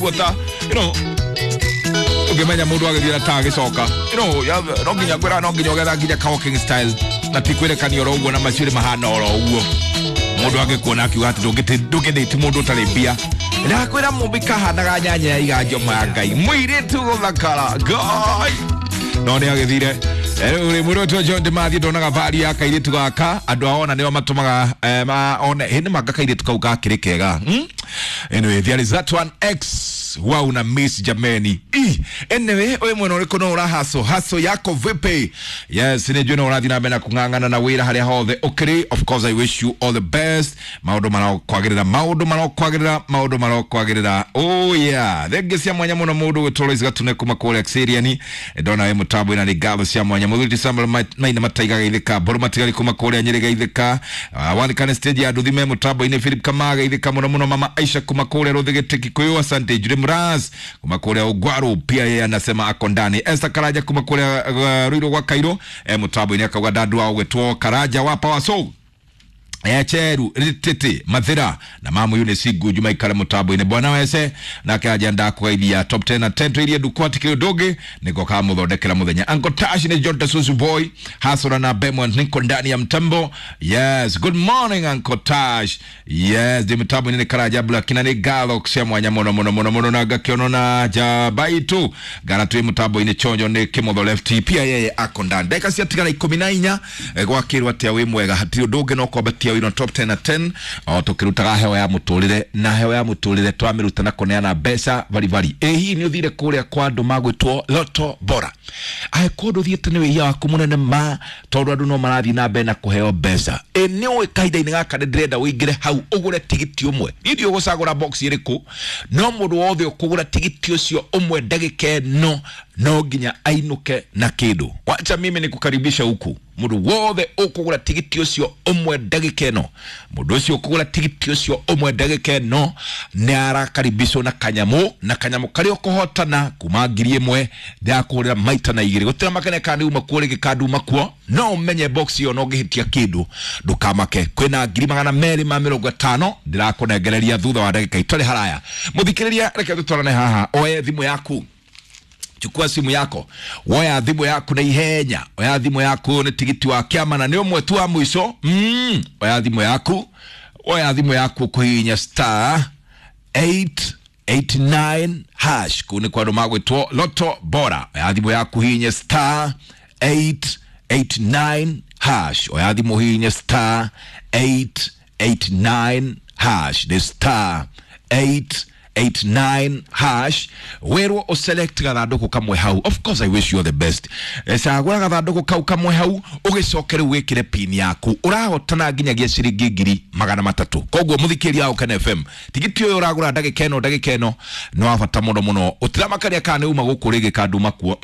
Guota you know ũngĩmenya mũndũ agĩthiĩ na ta agĩcoka, you know, no nginya ngwĩra, no nginya ũgetha nginya ka walking style na ti kwĩrekania oro ũguo na macuĩrĩ mahana oro ũguo. Mũndũ angĩkuona akiuga atĩ ndũngĩdate mũndũ ũtarĩ mbia. Ndakwĩra mũmbi kahanaga nyanya ya iganjo ma Ngai, mũirĩtu gũthakara Ngai no nĩ agĩthire. Rĩu rĩ mwĩrĩ John Ndimathi ndonaga vari ya kairĩtu gaka, andũ aona nĩo matũmaga maone hĩndĩ manga kairĩtu kau gakĩrĩ kega. Anyway, there is that one X wow na miss jameni. Anyway, ũyũ mwena ũrĩkũ no ũrahaso haso yako vipi? Yes, nĩ njũĩ no ũrathiĩ na mbere na kũng'ang'ana na wĩra harĩa hothe ũkĩrĩ. Of course I wish you all the best. Maũndũ marokwagĩrĩra, maũndũ marokwagĩrĩra, maũndũ marokwagĩrĩra. Oh yeah, thengi cia mwanya mũno mũndũ gwĩtwo Lois Gatune kuma kũrĩa Xerian, ndona wĩ mũtambo ina nĩ ngatho cia mwanya. Mũthuri Samuel Maina Mataiga geithĩka, Mbũrũ Matigari kuma kũrĩa Nyĩrĩ geithĩka, Walikane stage ya nduthi me mũtambo-inĩ, Philip Kamaga geithĩka mũno mũno, mama Aisha kuma kũrĩa Rũthĩgĩtĩ Kikuyu, asante. Jure Mraz kuma kũrĩa Ũgwaru pia yeye anasema ako ndani. Esther Karaja kuma kũrĩa Ruiru gwa Kairo mũtambo-inĩ akauga ndandu wao gwĩtwo Karaja wa Power Soul Echeru Rititi Mathira na mamu yune sigu juma ikare mutambo-inĩ bwana wese nake ajenda kugeithia top 10 na 10 twirie ndukwati kiri ndungi niko kama muthondekera muthenya. Uncle Tash ni John Tasusu boy hasura na Bemon niko ndani ya mtambo. Yes, good morning Uncle Tash. Yes, ndi mtambo ni Karaja Black na ni galo cia mwanya muno muno muno muno na ngakiono na jabaitu gara twi mtambo-inĩ chonjo ni kimotho left pia yeye ako ndani. Ndagĩka ciatigara 14 gwakĩrwo atia wĩ mwega hatirĩ ũndũ ũngĩ no kwambatia wĩra top 10 na 10 o tukirutaga hewa ya muturire na hewa ya muturire twamiruta na kuneana mbeca baribari. Ĩ hihi nĩ ũthire kũrĩa kwa andũ magwĩtwo Lotto Bora? Angĩkorwo ndũthiĩte nĩ wĩhia waku mũnene ma, tondũ andũ no marathiĩ na mbere na kũheo mbeca. Ĩ nĩ ũĩ kahinda-inĩ gaka nĩ ndĩrenda ũingĩre hau ũgũre tigiti ũmwe. Niĩ ndiũĩ ũgũcagũra box ĩrĩkũ, no mũndũ wothe ũkũgũra tigiti ũcio ũmwe ndagĩka ĩno no nginya ainũke na kĩndũ. Wacha mimi nikukaribisha huku. Mũndũ wothe ũkũgũra tigiti ũcio ũmwe ndagĩka ĩno, mũndũ ũcio ũkũgũra tigiti ũcio ũmwe ndagĩka ĩno nĩ arakaribishwo na kanyamũ, na kanyamũ karĩa ũkũhotana kuma 1000 ndĩrakũhũrĩra maita na igĩrĩ. Gũtirĩ makene kana uma kuo rĩngĩ kana nduma kuo, no ũmenye box ĩyo no ũngĩhĩtia kĩndũ ndũkamake. Kwĩna 250,000 ndĩrakũnengereria thutha wa ndagĩka itarĩ haraya. Mũthikĩrĩria, reke tũtwarane haha, oe thimũ yaku, chukua simu yako, woya thimu yaku na ihenya, oya thimu yaku nĩ tigiti wa kĩama na nĩ ũmwe tu wa mũico. Oya thimu yaku, oya thimu yaku kũhihinya star 889 hash kuu nĩ kwa andũ magwĩtwo Lotto Bora. Oya thimu yaku hihinya star 889 hash, oya thimu hihinya star 889 hash, the star 889 hash, werwo uselect gathandũkũ kamwe hau. Of course I wish you all the best. Cagũra gathandũkũ kau kamwe hau ũgĩcoke rĩu wĩkĩre pin yaku, ũrahotana nginyagia ciringi 300,000. Koguo mũthikĩria wa Ũkene FM, tigiti ũyũ ũragũra ndagĩka ĩno, ndagĩka ĩno nĩ wa bata mũno mũno. Ũtiramakania kana nĩ uma gũkũ rĩngĩ kana nduma kuo,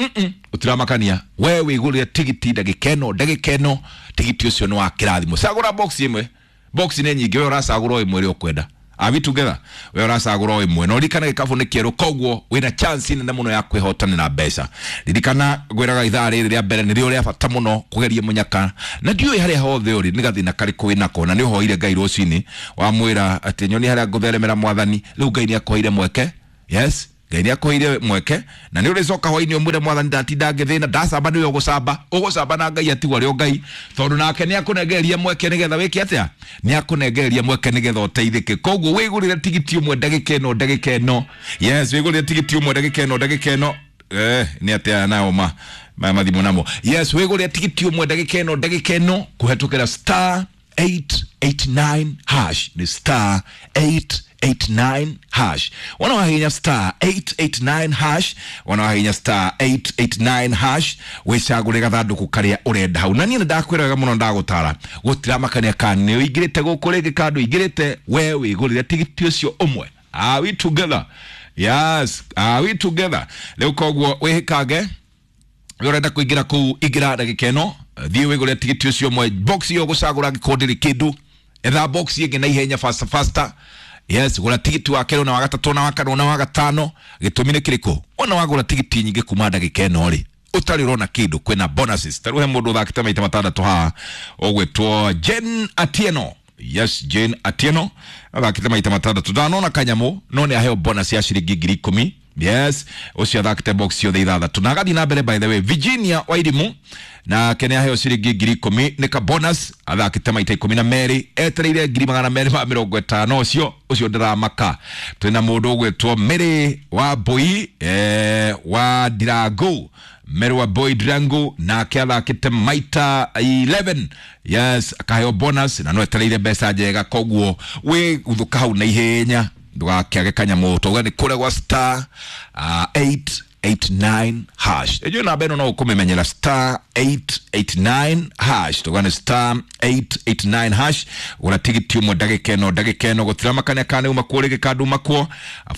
ũtiramakania, we wĩgũrĩre tigiti ndagĩka ĩno, ndagĩka ĩno tigiti ũcio nĩ wa kĩrathimo. Cagũra box ĩmwe, box nĩ nyingĩ, we ũracagũra o ĩmwe ĩrĩa ũkwenda. Are we together? We ũracagũra o ĩmwe na ũririkane gĩkabũ nĩ kĩerũ, koguo wĩna chance nene mũno ya kwĩhotanĩra mbeca. Ririkana ngwĩraga ithaa rĩrĩ rĩa mbere nĩrĩo rĩa bata mũno kũgeria mũnyaka, na ndiũĩ harĩa hothe ũrĩ nĩ gathĩna karĩkũ wĩnako, na nĩ ũhoire Ngai rũcinĩ wamwĩra atĩ nyoni harĩa ngũtheremera mwathani, rĩu Ngai nĩ akũheire mweke. Yes, Ngai nĩ akũheire mweke na nĩ ũrĩcoka hwainĩ ũmwĩre mwathani ndatinda ngĩthĩna ndacamba, nĩwe ũgũcamba, ũgũcamba na Ngai atigwo arĩ o Ngai, tondũ nake nĩ akũnengereria mweke nĩgetha wĩke atĩa, nĩ akũnengereria mweke nĩgetha ũteithĩke. Koguo wĩgũrĩre tigiti ũmwe ndagĩka ĩno, ndagĩka ĩno. Yes, wĩgũrĩre tigiti ũmwe ndagĩka ĩno, ndagĩka ĩno. Nĩ atĩa nao ma maya mathimũ namo. Yes, wĩgũrĩre tigiti ũmwe ndagĩka ĩno, ndagĩka ĩno kũhetũkĩra star 889 hash, nĩ star 889 hash. Wana wahinya star 889 hash, wana wahinya star 889 hash, wĩcagũre gathandũkũ karĩa ũrenda hau. Na niĩ nĩndakwĩra wega mũno, ndagũtara gũtiramakania kana nĩ ũingĩrĩte gũkũ rĩngĩ kana ndũingĩrĩte, we wĩgũrĩre tigiti ũcio ũmwe. Are we together? Yes, are we together? Rĩu koguo wĩhĩkange, we ũrenda kũingĩra kũu, ingĩra ndagĩka ĩno, thiĩ wĩgũrĩre tigiti ũcio ũmwe. Box ĩyo ũgũcagũra angĩkorwo ndĩrĩ kĩndũ, etha box ĩngĩ na ihenya, faster faster. Yes, gũra tigiti wa kerĩ na wa gatatũ na wa kana na wa gatano. Gĩtũmi nĩ kĩrĩkũ? Wona wagũra tigiti nyingĩ kuma ndagĩka ĩno rĩ, ũtarĩ ũrona kĩndũ, kwĩna bonuses. Ta rĩu he mũndũ ũthakĩte maita matandatũ haha ũgwĩtwo Jen Atieno. Yes, Jane Atieno athakĩte maita matandatũ, ndanona kanyamũ no nĩ aheo bonus ya ciringi 10,000. Yes, ũcio athakĩte box ciothe ithathatũ na agathiĩ na mbere. By the way, Virginia Wairimu nake nĩ aheo ciringi 10,000 nĩ ka bonus, athakĩte maita 12, etereire 250,000. Ũcio ndĩramaka. Twĩna mũndũ ũgwĩtwo Mary wa Mbui, wa Ndirangu, Mary wa Boy Ndirangu, nake athakĩte maita 11. Yes, akaheo bonus na no etereire mbeca njega, koguo wĩ guthũka hau na ihenya ndũgakĩage kanyamũ. Tauga nĩ kũrĩa gwa star 889 hash. Ĩjũ namba ĩno no ũkũmĩmenyera, star 889 hash. Tauga nĩ star 889 hash. Gũra tigiti ũmwe ndagĩka ĩno, ndagĩka ĩno gũtiramakania kana nĩ uma kuo rĩngĩ kana nduma kuo.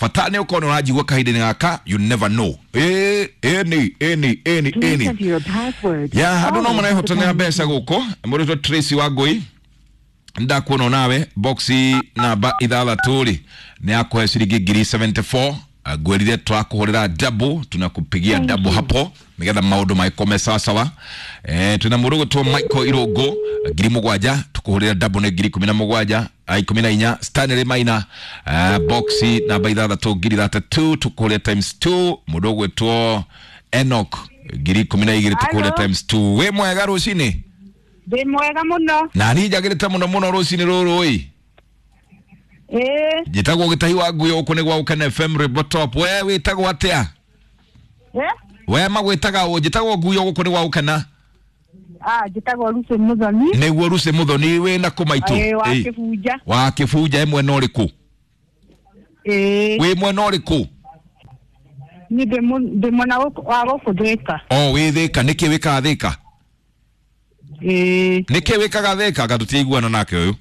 Bata nĩ ũkorwo nĩ ũranjigua kahinda-inĩ gaka. You never know. Ĩ ĩni ĩni ĩni Please ĩni enter your password. Ya andũ no followed by the marehotanĩra pound mbeca key. gũkũ. Mũrĩtwo Tracy Wangũi, ndakuona nawe boxi namba ithathatũ rĩ nĩ yakũhe ciringi 74,000. Ngwĩrire twakũhũrĩra double, tunakupigia Thank double you. hapo nigetha maũndũ magĩkome sawasawa. Twĩna mũndũ ũgwĩtwo Michael Irũngũ, 7,000, tũkũhũrĩra double nĩ 17,000, 14. Stanley Maina, boxi namba ithathatũ 32,000, tũkũhũrĩra times 2. Mũndũ ũgwĩtwo Enoch 12,000, tũkũhũrĩra Hello. times 2. Wĩ mwega rũcinĩ? Ndĩ mwega mũno. Na niĩ njagĩrĩte mũno mũno rũcinĩ rũrũ ĩ. Ĩĩ. Njĩtagwo Gĩtahi wa Nguyo, gũkũ nĩ gwa Gũkena FM Rwĩmbo Top. We wĩtagwo atĩa? Eh? We magwĩtaga ũ? Njĩtagwo Nguyo, gũkũ nĩ gwa Gũkena. Ah, njĩtagwo Lucy Mũthoni. Nĩguo Lucy Mũthoni, wĩ na kũ maitũ? Ĩĩ, wa Ĩĩ. Kĩbunja. Wa Kĩbunja, ĩ mwena ũrĩkũ? Ĩĩ. Wĩ mwena ũrĩkũ? Niĩ ndĩ mwena wa gũkũ Thĩka. O wĩ Thĩka. Nĩkĩ wĩkaga Thĩka? Ĩĩ. Nĩkĩ wĩkaga Thĩka? Anga tũtiiguana nake ũyũ.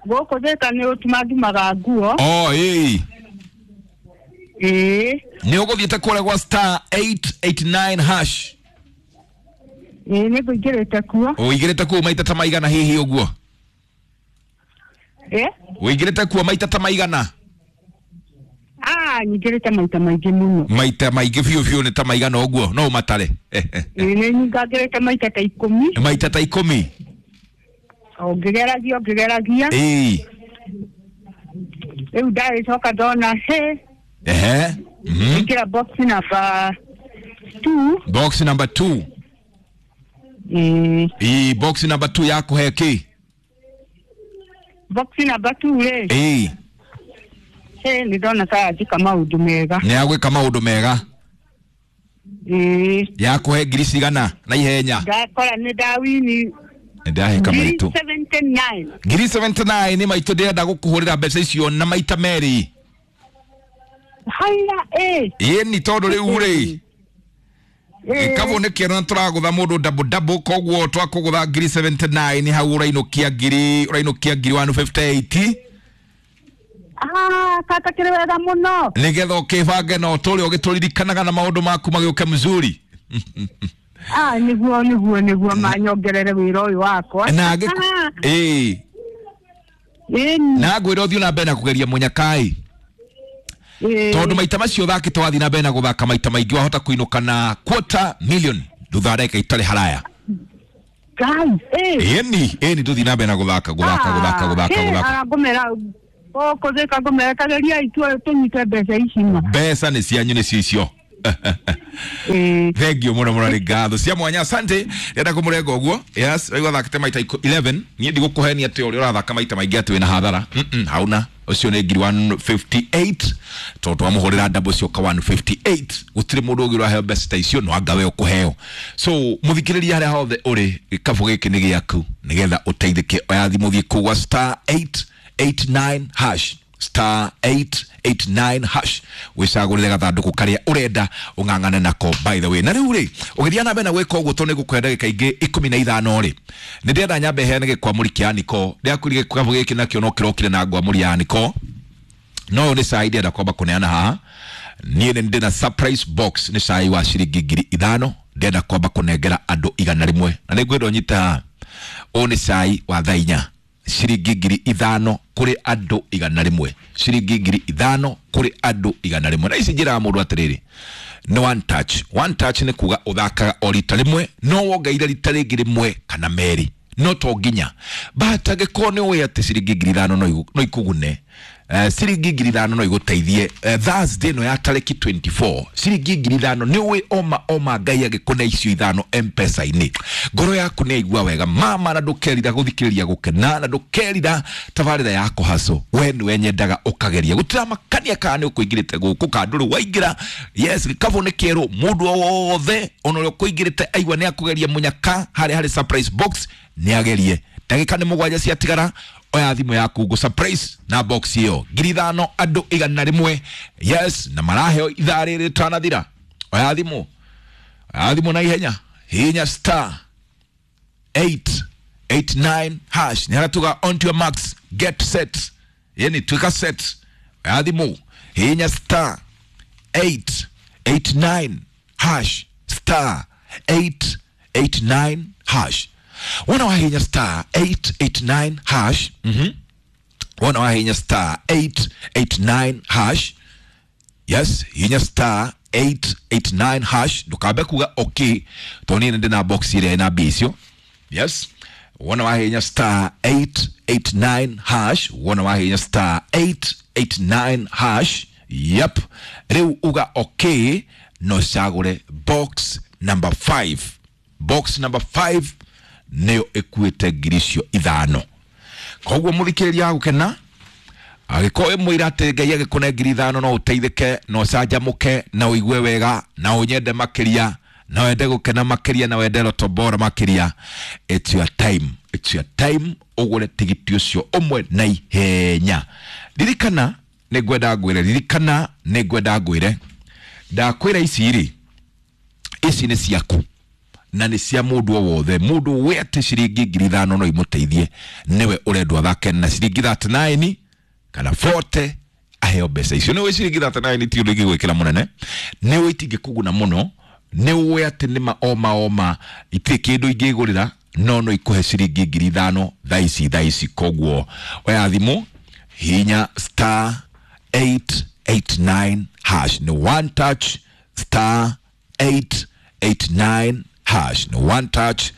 Gũkũ Thĩka nĩ ũtuma ndumaga nguo. O ĩĩ. Ĩĩ. Nĩ ũgũthiĩte kũrĩa gwa star 889 hash? Ĩĩ, nĩ ngũingĩrĩte kuo. Ũingĩrĩte kuo maita ta maigana hihi ũguo? Ĩĩ. Ũingĩrĩte kuo maita ta maigana? Ah, nyingĩrĩte maita maingĩ mũno. Maita maingĩ biũ biũ nĩ ta maigana ũguo no ũmatare? Ĩĩ, nĩ nyingangĩrĩte maita ta 10. Maita ta 10. O ngĩgeragia, o ngĩgeragia. Ĩĩ. Rĩu ndagĩcoka ndona he. Ehe. Ingĩra box number 2. Box number 2. Ĩĩ. Ĩĩ, box number 2 yakũhe kĩ? Box number 2 rĩ. Ĩĩ. Ĩĩ, nĩ ndona ta yanjĩka maũndũ mega. Nĩ yagwĩka maũndũ mega. Ĩĩ. Yakũhe ngiri cigana na ihenya? Ndakora nĩ ndawini Nĩ ndahĩka maitũ. 79. 79,000 nĩ maitũ. Ndĩrenda gũkũhũrĩra mbeca icio na maita merĩ. Haya, ĩĩ. Ĩĩ, ni tondũ rĩu rĩ Ĩĩ. gĩkabũ nĩ kĩerũ na tũragũtha mũndũ double double, koguo twakũgũtha 79,000 hau ũrainũkia 158,000. Ah, kata kĩrĩ wega mũno. Nĩgetha ũkĩbange na ũtũre ũgĩtũririkanaga na maũndũ maku magĩũke mzuri. Ah, nĩguo manyongerere wĩra ũyũ wakwa. Na ĩĩ. Ĩĩ. Na ngwĩra ũthiĩ na mbere na kũgeria mũnyakai. Ĩĩ. Tondũ maita macio ũthakĩte, wathiĩ na mbere na gũthaka maita maingĩ, wahota kũinũka na quarter million thutha wa ndagĩka itarĩ haraya. Ngai, ĩĩ. Ĩni ĩni, tũthiĩ na mbere na gũthaka gũthaka gũthaka gũthaka gũthaka. Ngũmera gũkũ Thĩka, ngũmera tageria itue tũnyite mbeca ici ma. Mbeca nĩ cianyu, nĩcio icio. Ĩĩ. Thengio mũno mũno, nĩ ngatho cia mwanya, asante. Ndĩrenda kũmũrenga ũguo. Yes, waigua athakĩte maita 11. Niĩ ndigũkũhenia atĩ ũrĩa ũrathaka maita maingĩ atĩ wĩna hathara. Hauna. Ũcio nĩ 158,000 tondũ twamũhũrĩra double cioka 158. Gũtirĩ mũndũ ũngĩ ũraheo mbeca ta icio, no anga we ũkũheo. So mũthikĩrĩria, harĩa hothe ũrĩ, gĩkabũ gĩkĩ nĩ gĩaku nĩgetha ũteithĩke. Oya thimũ, thiĩ kũu gwa star 889 hash, star 889 hash, wĩcagũrĩre gathandũkũ karĩa ũrenda ũng'ang'ane nako. By the way, na rĩu rĩ, ũgĩthiĩ na mbere na gwĩka ũguo, tondũ nĩngũkũhe ndagĩka ingĩ 15 rĩ, nĩ ndĩrenda nyambe heane gĩkwamũri kĩa niko. Ndĩrakwĩrire gĩkabũ gĩkĩ nakĩo no kĩrokire na ngwamũri ya niko, no ũyũ nĩ cai ndĩrenda kwamba kũneana haha. Niĩ nĩ ndĩna surprise box, nĩ cai wa ciringi 5,000 ndĩrenda kwamba kũnengera andũ 100, na nĩ ngwenda ũnyite haha. Ũyũ nĩ cai wa thaa 4, ciringi 5,000 kũrĩ andũ 100, ciringi 5,000 kũrĩ andũ 100. Na ici njĩraga mũndũ atĩrĩrĩ, nĩ one touch. One touch nĩ kuga ũthakaga o rita rĩmwe, no wongeire rita rĩngĩ rĩmwe kana merĩ. No to nginya, but angĩkorwo nĩ ũĩ atĩ ciringi 5,000 no ikũgune, ciringi 5,000 no igũteithie, Thursday ĩno ya tarĩki 24, ciringi 5,000 nĩ ũĩ oma oma Ngai agĩkũne icio ithano Mpesa-inĩ, ngoro yaku nĩ yaigua wega mama, na ndũkerira gũthikĩrĩria gũkena, na ndũkerira tabarĩra ya kũhaco. We nĩwe nyendaga ũkageria gũtiramakania kana nĩ ũkũingĩrĩte gũkũ kana ndũrĩ waingĩra. Yes, gĩkabũ nĩ kĩerũ, mũndũ o wothe ona ũrĩa ũkũingĩrĩte aigua nĩ akũgeria mũnyaka harĩa harĩ surprise box, nĩ agerie. Ndagĩka nĩ 7 ciatigara, oya thimũ yaku ngũ surprise na box ĩyo 5,000, andũ 100. Yes, na maraheo ithaa rĩrĩ rĩtanathira. Oya thimũ, oya thimũ na ihenya, hinya star 889 hash. Nĩ haratuga on to your max, get set, yani twika set. Oya thimũ, hinya star 889 hash, star 889 hash. Wona wahinya star 889 hash, wona wahinya star 889 hash. Yes, hinya star 889 hash, ndukambe kuga okay to niĩ ndĩ na box ĩrĩa ĩna mbia icio. Yes, wona wahinya star 889 hash, wona wahinya star 889 hash, yep, rĩu uga okay, no cagũre box number 5. Box number 5 nĩyo ĩkuĩte 5,000. Koguo mũthikĩrĩria gũkena, angĩkorwo ĩmwĩra atĩ Ngai agĩkũne 5,000 no ũteithĩke na ũcanjamũke na ũigue wega na ũnyende makĩria na wende gũkena makĩria na wende Loto Bora makĩria, it's your time, it's your time ũgũre tigiti ũcio ũmwe na ihenya. Ririkana nĩ ngwenda ngwĩre, ririkana nĩ ngwenda ngwĩre, ndakwĩra ici rĩ, ici nĩ ciaku na nĩ cia mũndũ o wothe. Mũndũ wĩ atĩ ciringi 5,000 no imũteithie, nĩwe ũrendwo athake na ciringi 39 kana 40 aheo mbeca icio. Nĩ ũĩ ciringi 39 ti ũndũ ingĩgwĩkĩra mũnene, nĩ ũĩ itingĩkũguna mũno, nĩ ũĩ atĩ nĩ ma oma oma itirĩ kĩndũ ingĩgũrĩra, no no ikũhe ciringi 5,000 thaa ici thaa ici. Koguo oya thimũ, hinya star 889 hash, nĩ one touch, star 889 hash, nĩ one touch.